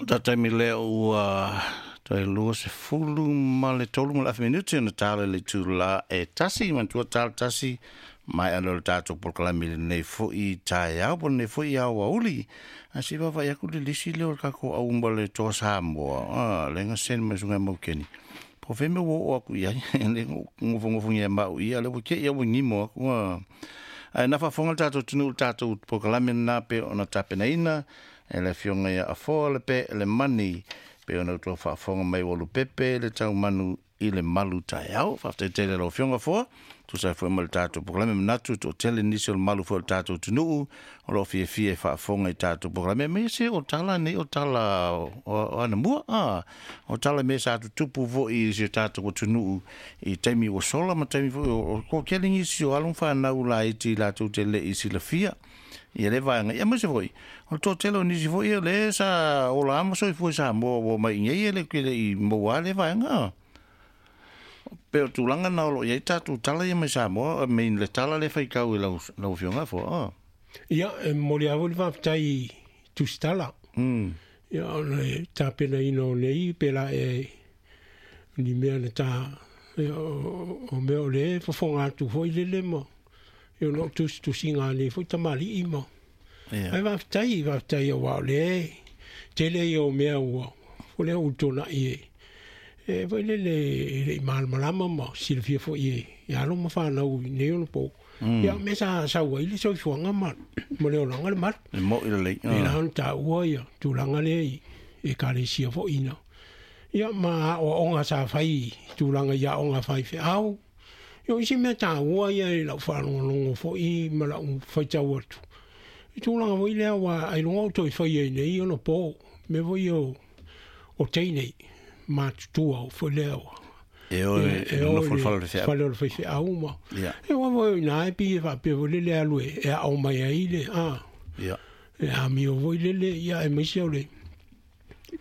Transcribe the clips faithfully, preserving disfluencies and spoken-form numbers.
Taimi lea ua toe lua sefulu ma le tolu ma le afe minute ona tala le itulā e tasi manatua tala tasi mai ana o le tatou polokalame lenei fo'i taeao po lenei fo'i aoauli. Ae se i vaavaai atu le lisi lea o le tatou auma le Toa Samoa a lea na send mai susuga Maukeni po o fea mea ua oo atu i ai lea na nofonofogia e maau ia lea ua te i ua gimo atu a. Ae na faafofoga le tatou atunuu i le tatou polokalame lena pe ona tapenaina e le afioga ia Afoa le pe le mani pe ona outou faafofoga mai ua lupepe le taumanu i le malu taeao. Faafetai tele lau afioga Afoa, tusa ai foi ma le tatou polokalame manatu toatele nisi o le malu foi o le tatou atunuu o loo fiafia e faafofoga i tatou polokalame me se o tala nei o tala o anamua a o tala me sa tutupu foi i si o tatou atunuu i taimi ua sola ma taimi foi o toatele nisi o alo ma fanau laiti latou te le i silafia ia le vaega ia aemaise foi o le toatele o nisi foi o le sa ola ma soifua i Samoa ua mai i nei e le le i maua le vaega. Pe o tulaga na o lo o i ai tatou tala ia mai Samoa I mean le tala le faitau i lau lau afioga fo a. Ia, e momoli lava le faafetai i tusitala. Mm. Ia, o le tapenaina o nei pe la e ni mea na ta ia, o, o mea o le fofoga atu foi lele ma ia o tusitusiga nei foi tamalii ma. Ia. Ai faafetai, faafetai aua o le tele ia o mea ua o lea ua tuanai e e foi lele e le i malamalama ma silafia foi e e alo ma fanau i nei ona po. Mm. Ia mea sa sau ai le soifuaga ma ma le olaga le malu. E mo'i lelei. E la ona taua ia tulaga lea i ekalesia foi ina. Ia ma aoaoga sa fai i tulaga i aoga faifeau. Ia o isi mea taua ia i lau faalogologo foi ma lau faitau atu. I tulaga foi lea ua ailoga o toe faia i nei ona po. Mea foi o o teine matutua o foi lea ua. E o E e e o nofo i le fale o le le feau. fale o le faifeau ma. Ia. E ua foi ina e pi e faapea foi lele alu e e aao mai ai le a. Ia. E amio foi lele ia aemaise o le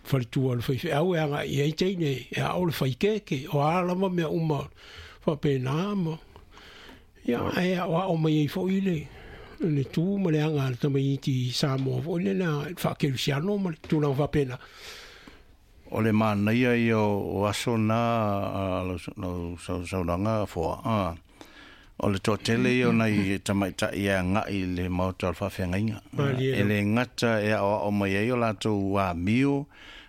faletua o le faifeau e agai i ai teine e aao le faikeke o a lava mea uma faapena ma. Ia ae aoao mai ai foi le le tu ma le aga a le tamaiti i Samoa foi lele a faakerisiano ma le tulaga faapena. O le manaia ia o aso na a, lau lau saunaga foa a. O le toatele ia o nai tamaitai e agai i le maota o le faafeagaiga. Malie E lava. le gata e aoao mai ai o latou amio,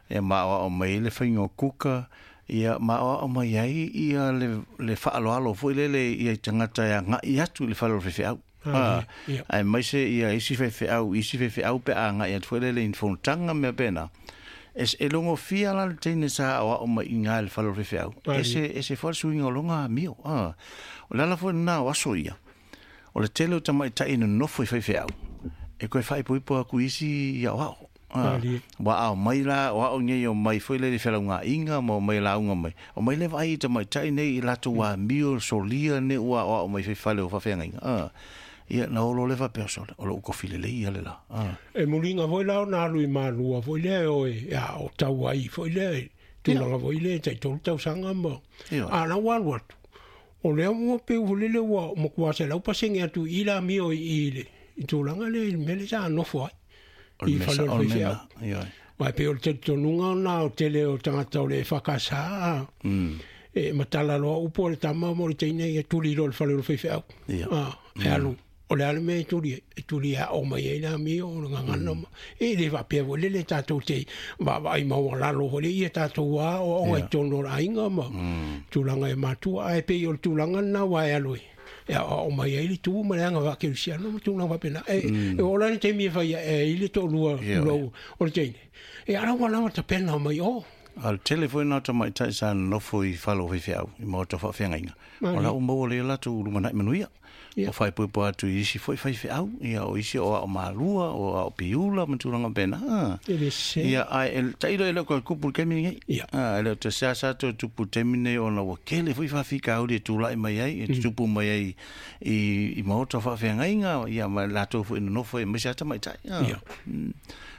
e ma aoao mai ai le faiga o kuka, ia ma aoao mai ai ia le, le faaaloalo foi lele ia i tagata e agai atu i le fale o le faifeau. Malie, A, ia. aemaise ia isi faifeau, isi faifeau pe a agai atu foi lele i fonotaga ma mea pena. E, e logofia la le teine sa aoao mai i gā i le fale o le faifeau. Malie. Ese, ese foi le suiga o loga amio. A. O le ala foi lena o aso ia. O le tele o tamaitai nonofo i faifeau. E koe faaipoipo atu i isi i aoao. A. Malie. Ua ao mai la, o ao nei o mai foi lele felaugaaiga ma o mai lauga mai. O mai le vaai i tamaitai nei i latou amio, solia nei ua aoao mai faifale o faafeagaiga. A. Ia na olo le faapea sole, o lou kofi lelei ia le la. A. E muliga foi la ona alu i malua foi lea e o e ao tau ai foi lea i tulaga foi lea e taitolu tausaga ma. Ia. A la ua alu atu. O lea ua peu foi lele ua matua selau pasene atu i la amio i i le i tulaga lea i le mea lea sa nofo ai. O le I mea fale sa- o le o le mea faifeau. na, ia. Vai pe o le talitonuga ona o tele o tagata o le E F K S a. Mm. E matala loa upu o le tama mo le teine ia tuli loa le fale o le faifeau. Ia. A, e alu. O le a le mea e tuli ai, e tuli aao mai ai le amio o le gagana ma. E le faapea foi lele tatou te vaavaai maualalo foi le ia tatou aoaoga i Ia. totonu o le aiga ma tulaga e matua. Ae pei o le tulaga lena ua e alu e e aoao mai ai le tu ma le aga faakerisiano ma tulaga faapena. E, e oo la le taimi e fai ae ai le toalua Ia. tulou o le teine. E ala ua lava tapena mai o. A le tele foi na tamaitai sa nonofo i fale o faifeau, i maota o faafeagaiga. O Malie. la ua maua lea latou lumanai manuia. Ia. O faaipoipo atu i isi foi faifeau, ia o isi o ao malua, o ao piula ma tulaga pena. A. E le sese. Ia, ae e tailo e le o koe tupu i le taimi lenei. Ia. A, e le o te seasea toe tupu i le taimi lenei ona ua kele foi faafitauli e tulai mai ai, e tutupu mai ai i, i maota o faafeagaiga, ia ma latou foi nonofo aemaise lava tamaitai. A. Ia. Mm.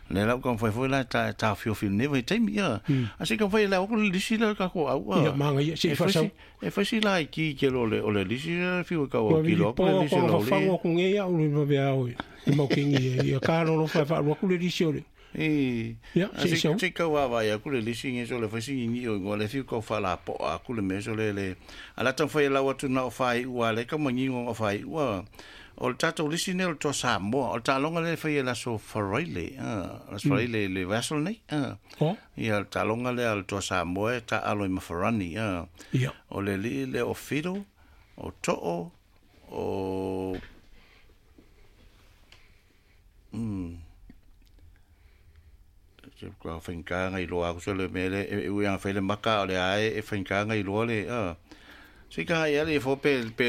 Le lau ka fai foi la ta ta fio fio ne vai taimi ia. A se ka fai la o le lisi la ka ko au. Ia manga ia se fa sau. E fai si la ki ke lo le o le lisi la fiu ka o ki lo le lisi lo. Ko fa ko nge ia o le va o. E mo ki ngi ia ka lo lo fa fa lo ku le lisi o le. E ia se se se ka wa va ia ku le lisi nge so le fai si ngi o ngo le fiu ka fa la po a ku le me so le le. Ala ta fai la wa tu na o fai ua le ka mangi ngo o fai ua. O le tātou lisi nei o le toa Samoa, o le tālonga le whai e laso Faraile, laso Faraile le vessel nei. Ia le tālonga le le toa Samoa e tā alo i mafarani. O le li le o Fido, o To'o, o... Mm. Ka whainkaanga i loa, kuso le mele, e uianga whaile maka o le ae, e whainkaanga i loa le... Se ka ia le fo pe pe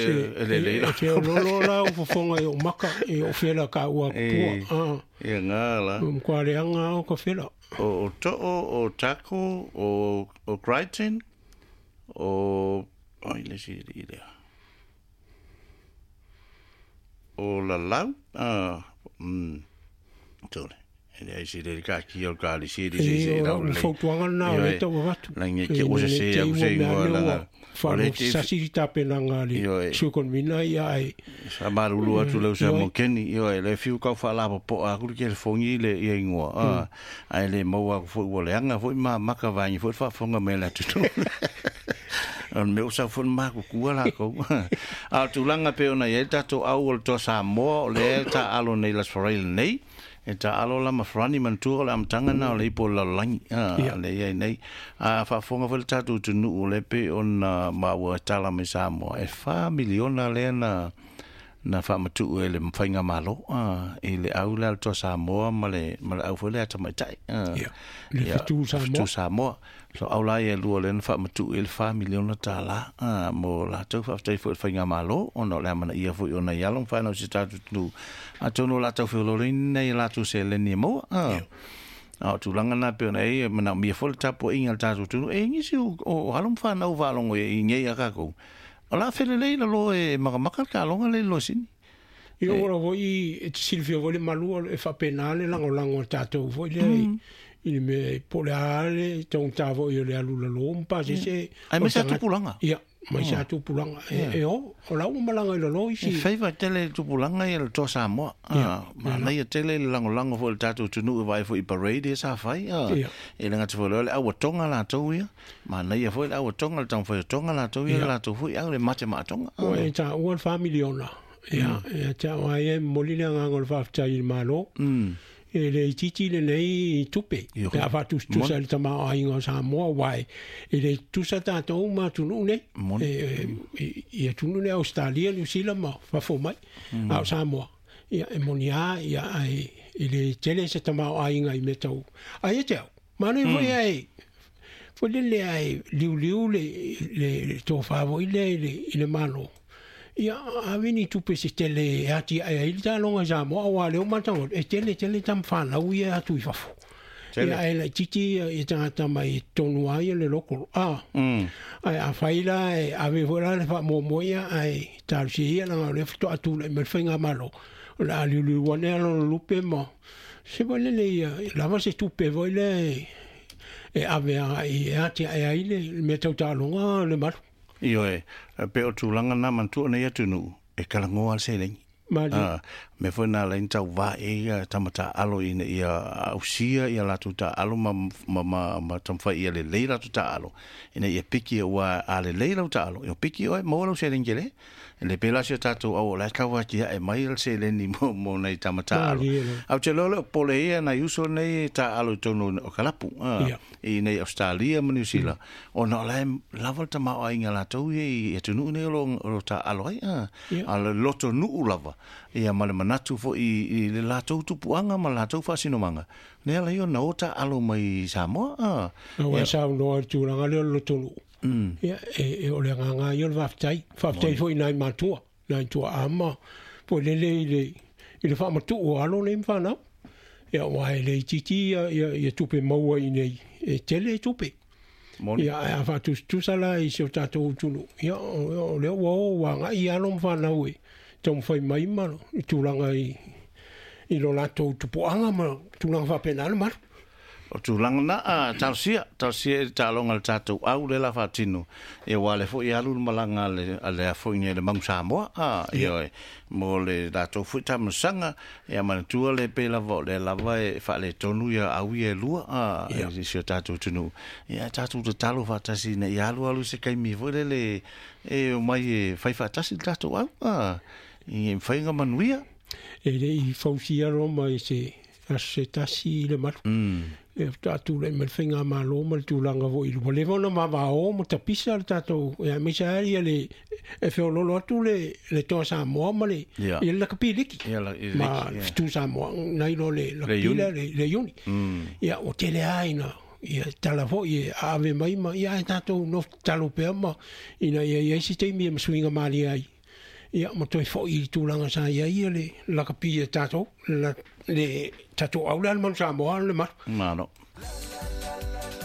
le le la. E lo la o fofonga e o maka e o fela ka ua pua. Ah. Ia ngā la. Um kwa le anga o ka fela. O o To'o, o Tako, o o Crichton, o ai le si i le. O Lalau. Ah. Mm. Tole. E ai si le ka ki o ka li si li si si la. O fautuanga na o le tau avatu. La nge ke o se se au se ingoa la. Whalo sasiri tapenanga le sukonvina ia ai. Sa marulu atu leu sa mokeni, io e le fiu kau whaalapo po a kuri ke le fongi le ia ingoa. Ai le maua aku fo ua leanga fo ma maka vaingi fo whaafonga me la tutu. O me usa fo maku kua la kou. A tūlanga pe ona ia tātou au o le toa Samoa o le tā alo nei las Faraile nei. E tā alo la mafrani mantua o le amtanga na o le ipo lalolangi. Le ia nei. A whaafonga fo le tātou tunu o le pe o na maua tala me Samoa. E wha miliona le na na whaamatu e le mwhainga malo. E le au le toa Samoa ma le, ma le au fo le ata maitai. Ia, le whitu Samoa. Whitu Samoa. So au la ia lua le na whaamatu e le wha miliona tā la. Mo lātou whaaftai fo le whainga malo. Ona o le amana ia fo i ona ialo mwhainau si tātou tunu. A tono lātou whiolore nei lātou se leni e moa. A o tūlanga nā pe ona e mana mia fo le tapo inga le tātou tunu. E ngisi o, o halo mwhanau whalongo e i ngei a kākou. O la whele lei la lo e makamaka ka longa le lo sini. I ora voi e te silfia voi le malua e whapena le lango lango tātou voi le i le me pole ale tong tā voi o le alula lo mpa se se. Ai me sa tupulanga. Ia, mai sa tupulanga. E o, o la uma malanga i lo isi. E whaiva tele tupulanga i le toa Samoa. Ma nei tele le lango lango fo le tātou tunu e vai fo i parade e sa whai. E le ngati fo le awa tonga la tau ia. Ma nei fo le awa tonga le tang fo tonga la tau ia la tau fo i au le mate maa tonga. O e tā ua le wha miliona. Ia, e tā wai e moli le nganga o le whaftai i le malo. E le titi le nei tupe. Pe a whatustusa le tama o ainga o Samoa wai. E le tusa tātou ma tunu nei. Ia tunu nei Australia, New Zealand ma whafo mai. A o Samoa. Ia e moni a, ia ai, e le tele se tama o ainga i metau. Ai e te au. Manu i foi ai. Foi le le ai liu liu le, le tō whāvo i le, i le malo. Ia awini tupe se tele ati ai ai ta longa Samoa o ale o matango e tele tele tam whanau ia atu i fafo. Ia ai la titi i tangata mai tonu ai le loko. Ah. Ai a whaila e ave vola le wha momoia ai tarusi ia langa le fito atu le me whainga malo. O la aliulu wane alo lupe ma. Se vole le ia lava se tupe voi le e ave ai e ati ai ai le me tau talonga le malu. Io e, pe o tūlanga nā mantua nei atunu, e kalangoa al selengi. Ah, me foi nā lein tau wā e ia tamata alo ina ia ausia ia lātou tā alo ma, ma, ma, ma tamwhai ia le lei lātou tā alo. Ina ia piki ua a le lei lau tā alo. Ia piki oe, mō lau selengi le. Le pela se tātou au o lai kawa ki e mai al seleni mo, mo nei tamata alo. Au te lole o pole ia na uso nei tā alo i tonu o kalapu. Ah, i nei Australia ma New Zealand. O na o lai lava le tamao ai ngā lātou ia i atunu nei o lo, o tā alo ai. Ah, a le loto nuu lava. Ia ma le manatu fo i, i le lātou tupuanga ma lātou whaasinomanga. Nea lai o na o tā alo mai Samoa. Ah. Au e sao noa tūranga leo loto nuu. Mm. Ia, e, e o le nganga i o le whaftai. Whaftai foi nai matua, nai tua ama. Po lele i le, i le whaamatu o alo nei mwhanau. Ia, wai le titi ia, ia, ia tupe maua i nei. E tele tupe. Ia, a whaatustusa la i se o tātou tunu. Ia, o, o leo o wanga i alo mwhanau e. Tau mwhai mai malo, i tūranga i, i lo latou tupuaga ma tulaga faapena le malu. O tulaga na a talosia talosia i taaloga a le tatou au le la faatino ia ua le fo'i alu le malaga a le a le afo'i le Manu Samoa a ia mo le latou fo'i tamasaga ia manatua le pei lava o le lava e faaletonu ia au ia e lua a i si o tatou atunuu ia tatou tatalo faatasi ina ia alu alu se kaimi foi lele e omai e fai faatasi le tatou au a i mafai ona manuia. E le'i fausia Roma i se aso se tasi i le malu. E faatoa ma le faigamalo ma le tulaga fo'i ua leva ona vavao ma tapisa le tatou ia aemaise lava ia le e feololo atu le le Toa Samoa ma le ia le lakapi liki ma le Fetu Samoa nai lo le lakapi lea le Iuni. Ia ua tele lava ina ia tala fo'i e aave mai ma ia ae tatou nofo tatalo pea ma ina ia iai se taimi e masuiga malie ai ia ma toe fo'i i tulaga sa iai ia le lakapi e tatou le tatou au le a le Manu Samoa le malu. Malo.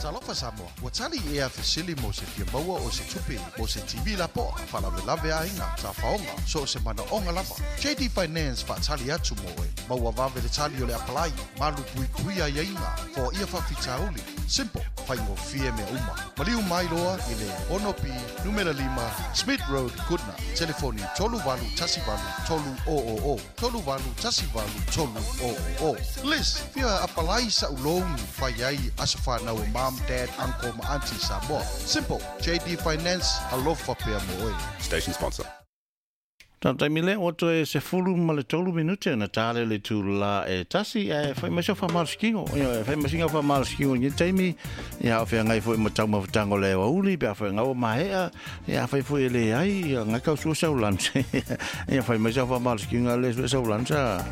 Talofa Samoa, ua tali ea fesili mo se fia maua o se tupe, mo se T V lapoa, faalavelave aiga, tafaoga, so o se manaoga lava. J D Finance faatali atu mo oe, maua vave le tali o le apalai, malu puipui aiaiga, foaia faafitauli. Simple, faigofie mea uma. Maliu mai loa i le ono P, numera lima, Smith Road, Goodna. Telefoni tolu valu tasi valu tolu o o o, tolu valu tasi valu tolu o o o. Liz, fia apalai sa ulouni fai ai aso whanau o mom, dad, uncle ma auntie Samoa. Simple, J D Finance, alofa pea mo oe. Station sponsor. Taimi lea ua toe sefulu ma le tolu minute na tale le tula e tasi e fai mai sau faamalosikino ia fai mai singa faamalosikino i lenei taimi ia o feagai fo'i ma taumafataga o le aoauli pe a feagai ua maea ia afai fo'i e leai ia gae kausua sau lanse ia fai mai sau faamalosikino a le sue sau lansa.